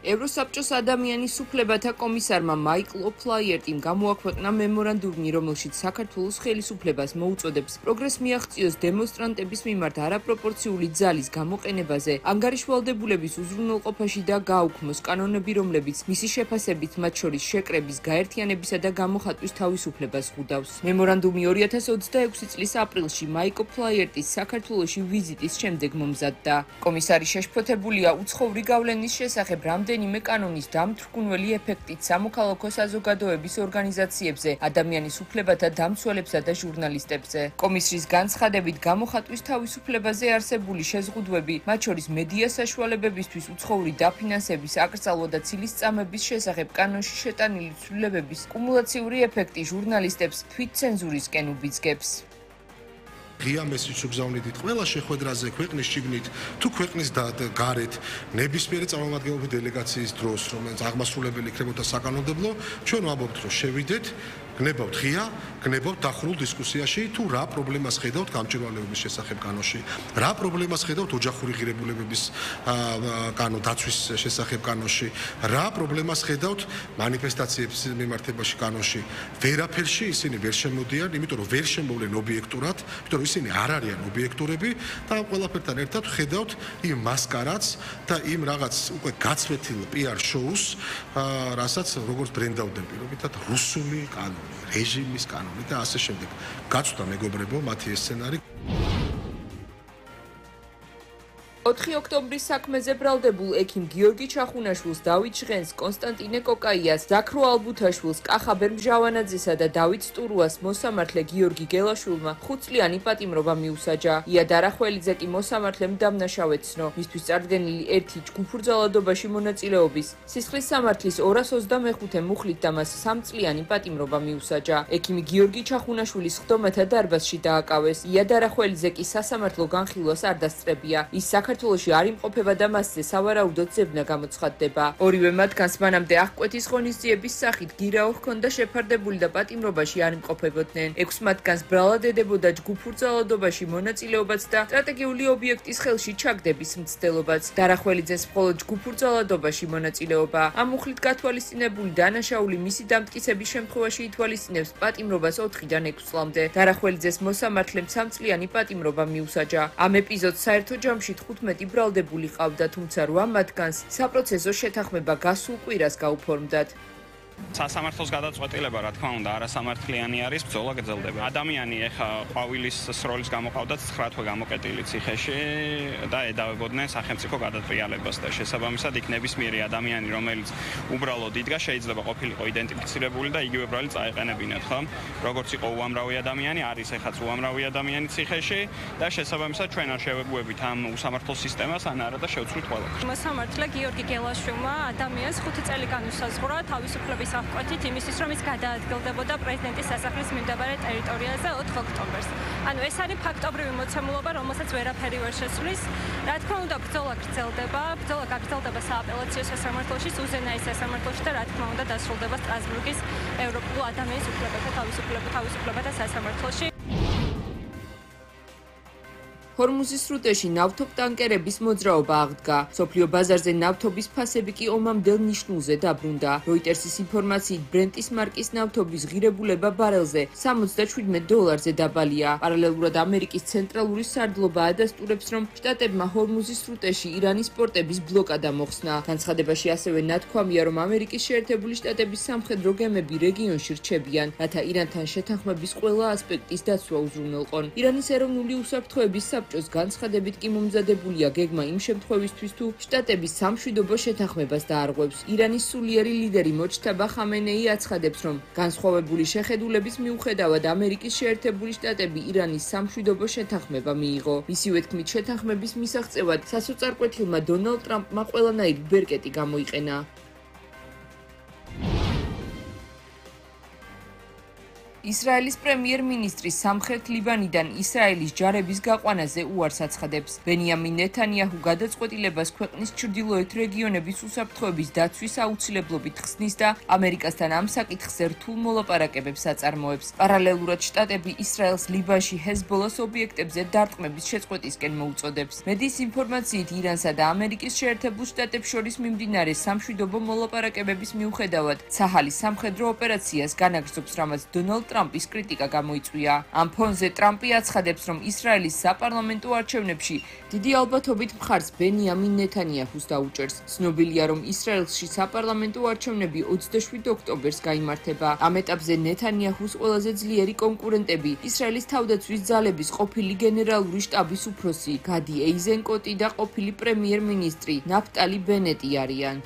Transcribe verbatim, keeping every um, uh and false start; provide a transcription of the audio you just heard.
ევროსაბჭოს ადამიანის უფლებათა კომისარმა მაიკლ ოფლაიერტიმ გამოაქვეყნა მემორანდუმი, რომელშიც საქართველოს ხელისუფლებას მოუწოდებს პროგრესს მიაღწიოს დემონსტრანტების მიმართ არაპროპორციული ძალის გამოყენებაზე, ანგარიშვალდებულების უზრუნველყოფაში და გააუქმოს კანონები, რომლებიც მისი შეფასებით მათ შორის შეკრების, გაერთიანებისა და გამოხატვის თავისუფლებას ხვდავს. მემორანდუმი ორი ათას ოცდაექვსი წლის აპრილში მაიკლ ოფლაიერტის საქართველოში ვიზიტის შემდეგ მომზადდა. კომისარი შეშფოთებულია უცხოური გავლენის შესახებ რამდენიმე კანონის დამთრგუნველი ეფექტით სამოქალაქო საზოგადოების ორგანიზაციებზე, ადამიანის უფლებათა დამცველებსა და ჟურნალისტებზე. კომისრის განცხადებით, გამოხატვის თავისუფლებაზე არსებული შეზღუდვები, მათ შორის მედია საშუალებებისთვის უცხოური დაფინანსების, აკრძალვა და ცილისწამების შესახებ კანონში შეტანილი ცვლილებების კუმულაციური ეფექტი ჟურნალისტებს თვითცენზურისკენ უბიძგებს. ღია მესიჯს უგზავნიდით ყველა შეხვედრაზე ქვეყნის შიგნით თუ ქვეყნის გარეთ ნებისმიერი წარმომადგენლობითი დელეგაციის დროს, რომელიც აღმასრულებელი იქნებოდა საკანონმდებლო, ჩვენ ვამბობთ, რომ შევიდეთ, გნებავთ ღია, გნებავთ დახურულ დისკუსიაში თუ რა პრობლემას ხედავთ გამჭვირვალეობის შესახებ კანონში, რა პრობლემას ხედავთ ოჯახური ღირებულებების კანონ დაცვის შესახებ კანონში, რა პრობლემას ხედავთ მანიფესტაციების მიმართებაში კანონში. ვერაფერში ისინი ვერ შემოდიან, იმიტომ რომ ვერ შემოვლენ ობიექტურად, იმიტომ რომ ისინი არ არიან ობიექტურები და ამ ყველაფერთან ერთად ხედავთ იმ მასკარადს და იმ რაღაც უკვე გაცვეთილ პიარ შოუს, რასაც როგორც ბრენდავდნენ პირობითად რუსული კანონი, რეჟიმის კანონი და ასე შემდეგ. გაცვდა მეგობრებო მათი ეს სცენარი. ოთხი ოქტომბრის საქმეზე ბრალდებულ ექიმ გიორგი ჩახუნაშვილს, დავით ჟღენს, კონსტანტინე კოკაიას, ზაქრო ალბუთაშვილს, კახაბერ მჟავანაძესა და დავით სტურუას მოსამართლე გიორგი გელაშვილმა ხუთწლიანი პატიმრობა მიუსაჯა. ია დარახველიძე კი მოსამართლემ დამნაშავედ ცნო, მისთვის წარდგენილი ერთი ჯგუფურძალადობაში მონაწილეობის სისხლის სამართლის ორას ოცდამეხუთე მუხლით და მას სამწლიანი პატიმრობა მიუსაჯა. ექიმი გიორგი ჩახუნაშვილი სხდომათა დარბაზში დააკავეს. ია დარახველიძე კი სასამართლო განხილვას არ დასწრებია. ის საქართველოში არ იმყოფება და მასზე სავარაუდოდ ზებნა გამოცხადდება. ორივე მათგანს მანამდე აღკვეთის ღონისძიების სახით გირაო ჰქონდა შეფარდებული და პატიმრობაში არ იმყოფებოდნენ. ექვს მათგანს ბრალად ედებოდა ჯგუფურ ძალადობაში მონაწილეობაც და სტრატეგიული ობიექტის ხელში ჩაგდების მცდელობაც. დარახველიძეს მხოლოდ ჯგუფურ ძალადობაში მონაწილეობა. ამ მუხლით გათვალისწინებული დანაშაული მისი დამტკიცების შემთხვევაში ითვალისწინებს პატიმრობას ოთხიდან ექვს წლამდე. დარახველიძეს მოსამართლემ სამწლიანი პატიმრობა მიუსაჯა. ამ ეპიზოდს საერთო ჯამში თხუთმეტი ბრალდებული ყავდა, თუმცა რვა მათგანს საპროცესო შეთანხმება გასულ კვირას გაუფორმდათ. სასამართლოს გადაწყვეტილება, რა თქმა უნდა, არასამართლიანი არის, ბრძოლა გრძელდება. ადამიანი ეხა ყვავილის სროლის გამოყავდათ ცხრა თვე გამოკეტილი ციხეში და ედავებოდნენ სახელმწიფო გადატრიალებას და შესაბამისად იქ ნებისმიერი ადამიანი, რომელიც უბრალოდ იდგა, შეიძლება ყოფილიყო იდენტიფიცირებული და იგივე ბრალი წაეყენებინათ, ხო? როგორც იყო უამრავი ადამიანი, არის ეხაც უამრავი ადამიანი ციხეში და შესაბამისად ჩვენ არ შევეგუებით ამ უსამართლო სისტემას, ან არა და შევცვლით ყველა. მოსამართლე გიორგი გელაშვილმა ადამიანს ხუთი წელი განუსაზღვრა თავისუფლების აღკვეთით იმისთვის, რომ ის გადაადგილდებოდა პრეზიდენტის სასახლის მიმდებარე ტერიტორიაზე ოთხ ოქტომბერს. ანუ ეს არის ფაქტობრივი მოცემულობა, რომელსაც ვერაფერი ვერ შესვლის. რა თქმა უნდა, ბრძოლა გრძელდება, ბრძოლა გაგრძელდება სააპელაციო სასამართლოში, უზენაეს სასამართლოში და რა თქმა უნდა დასრულდება სტრასბურგის ევროპულ ადამიანის უფლებათა თავისუფლებათა სასამართლოში. ჰორმუზის სრუტეში ნავთობტანკერების მოძრაობა აღდგა. სოფლიო ბაზარზე ნავთობის ფასები კი ომამდელ ნიშნულზე დაბრუნდა. როიტერსის ინფორმაციით, ბრენტის მარკის ნავთობის ღირებულება ბარელზე სამოცდაშვიდმეტ დოლარზე დაბალია. პარალელურად ამერიკის ცენტრალური სარდლობა ადასტურებს, რომ შტატებმა ჰორმუზის სრუტეში ირანის პორტების ბლოკადა მოხსნა. განცხადებაში ასევე ნათქვამია, რომ ამერიკის შეერთებული შტატების სამხედრო გემები რეგიონში რჩებიან, რათა ირანთან შეთანხმების ყველა ასპექტის დაცვა უზრუნველყონ. ირანის ეროვნული უსაფრთხოების საბჭოს განცხადებით კი მომზადებულია გეგმა იმ შემთხვევისთვის, თუ შტატები სამშვიდობო შეთანხმებას დაარღვევს. ირანის სულიერი ლიდერი მოჯთაბა ხამენეი აცხადებს, რომ განსხვავებული შეხედულების მიუხედავად ამერიკის შეერთებული შტატები ირანის სამშვიდობო შეთანხმება მიიღო. მისივე თქმით, შეთანხმების მისაღწევად სასოწარკვეთილმა დონალდ ტრამპმა ყველანაირი ბერკეტი გამოიყენა. ისრაელის პრემიერ-მინისტრი სამხრეთ ლიბანიდან ისრაელის ჯარების გაყვანაზე უარს აცხადებს. ბენიამინ ნეთანიაჰუ გადაწყვეტილებას ქვეყნის ჩრდილოეთ რეგიონების უსაფრთხოების დაცვის აუცილებლობით ხსნის და ამერიკასთან ამ საკითხზე რთულ მოლაპარაკებებს აწარმოებს. პარალელურად შტატები ისრაელს ლიბანში ჰეზბოლას ობიექტებზე დარტყმების შეწყვეტისკენ მოუწოდებს. მედიის ინფორმაციით ირანსა და ამერიკის შეერთებულ შტატებს შორის მიმდინარე სამშვიდობო მოლაპარაკებების მიუხედავად ცაჰალის სამხედრო ოპერაციას განაგრძობს, რამაც დონალდ ტრამპის კრიტიკა გამოიწვია. ამ ფონზე ტრამპი აცხადებს, რომ ისრაელის საპარლამენტო არჩევნებში დიდი ალბათობით მხარს ბენიამინ ნეთანიაჰუს დაუჭერს. ცნობილია, რომ ისრაელში საპარლამენტო არჩევნები ოცდაშვიდ ოქტომბერს გაიმართება. ამ ეტაპზე ნეთანიაჰუს ყველაზე ძლიერი კონკურენტები ისრაელის თავდაცვის ძალების ყოფილი გენერალური შტაბის უფროსი გადი ეიზენკოტი და ყოფილი პრემიერ-მინისტრი ნაფტალი ბენეტი არიან.